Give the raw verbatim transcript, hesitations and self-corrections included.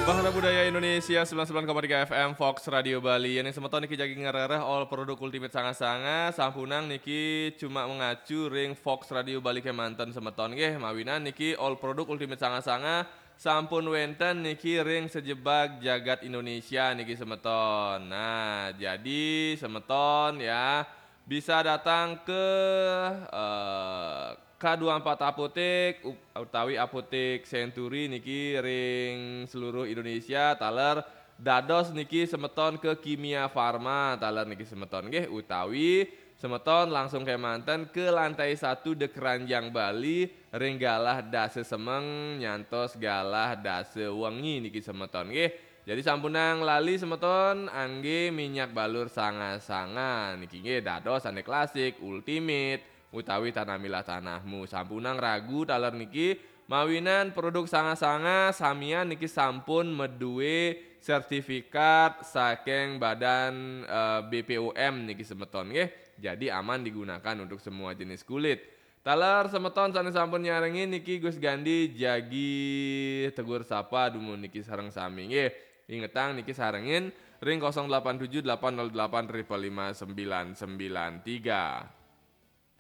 Bahana Budaya Indonesia sembilan sembilan koma tiga F M Fox Radio Bali. Yang semeton niki jagi ngerereh all produk Ultimate Sanga-Sanga, sampunang niki cuma mengacu ring Fox Radio Bali kemanten semeton nggih, mawinan niki all produk Ultimate Sanga-Sanga sampun wenten niki ring sejebag jagat Indonesia niki semeton. Nah, jadi semeton ya bisa datang ke eh, K dua empat Apotek u- utawi Apotek Century niki ring seluruh Indonesia taler dados niki semeton ke Kimia Farma taler niki semeton nggih utawi semeton langsung kemanten ke lantai satu The Keranjang Bali ring galah dasa semeng nyantos galah dasa wengi niki semeton nggih. Jadi sampunang lali semeton angge minyak balur Sanga-Sanga niki nggih dados ane klasik, ultimate utawi Tanamilah Tanahmu. Sampunang ragu taler niki mawinan produk Sanga-Sanga samian niki sampun medue sertifikat saking badan eh, B P O M niki semeton nggih. Jadi aman digunakan untuk semua jenis kulit. Taler semeton sane sampun nyarengin niki Gus Gandhi jagi tegur sapa dumun niki sareng sami nggih. Ingetang niki sarengin ring kosong delapan tujuh delapan nol delapan triple lima sembilan sembilan tiga.